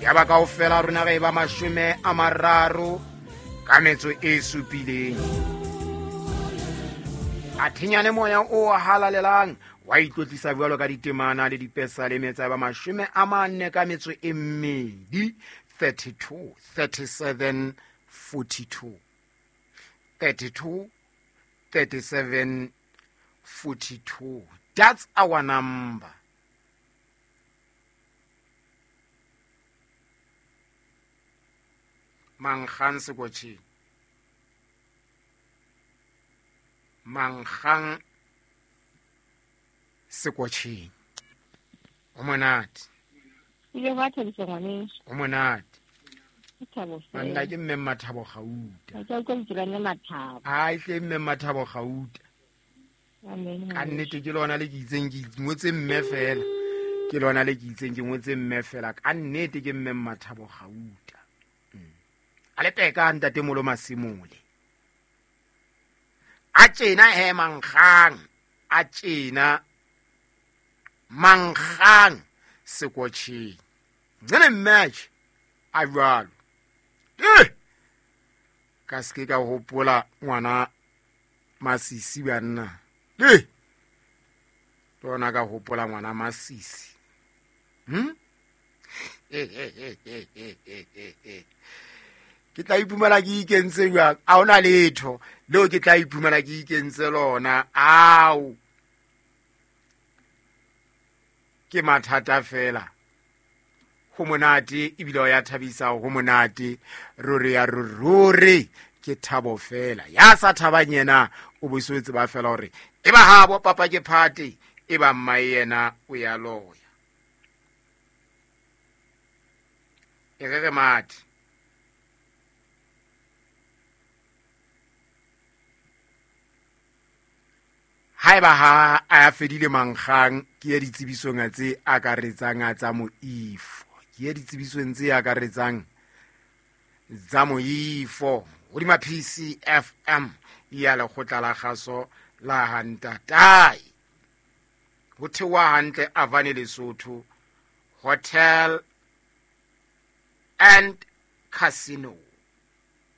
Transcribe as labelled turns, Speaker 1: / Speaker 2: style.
Speaker 1: Yaba kaofela rona re ba 37. A thinyane moya o halalelang wa itlotlisa jwalo ka ditemana le dipesaleme tsa ba 42, 32, 37, 42. 32, 37, 42. That's our number. Mankgang sekotjheng. Mankgang sekotjheng. O monate.
Speaker 2: Ile ba thabisa ngwaneso.
Speaker 1: O monate.
Speaker 2: Ke thabo fela.
Speaker 1: Banna ke mme Mathabo Gauta.
Speaker 2: Ke utlwa lentswe la mme Mathabo.
Speaker 1: Ai hle mme Mathabo Gauta.
Speaker 2: Amen.
Speaker 1: Ka nnete ke lona le ke itseng ke ngotse mme fela. Ke lona le ke itseng ke ngotse mme fela. Ka nnete ke mme Mathabo Gauta. A le peka ntate Molo Masimole. A tjena he mankgang, a tjena mankgang sekotjheng. Ncele match a jwalo. Ka se ka hopola ngwana Masisi banna. Lona ka hopola ngwana Masisi. Ke tla iphumana ke ikentse jwang? A hona letho leo ke tla iphumana ke ikentse lona. Ao. Ke mathata fela. Ho monate ebile o ya thabisa, ho monate. Ruri ya ruri ke thabo fela. Ya sa thabang yena o bo se tseba fela hore e ba habo papa ke phate, e ba mma yena o ya loya. E re re mathe. Haeba ha a fedile mankgang ke ya ditsebisong tse akaretsang tsa moifo. Ke ya ditsebisong tse akaretsang tsa moifo. Hodima PCFM ya lekgotla la kgaso la Hantatai. Ho theoha hantle Avane Lesotho Hotel and Casino.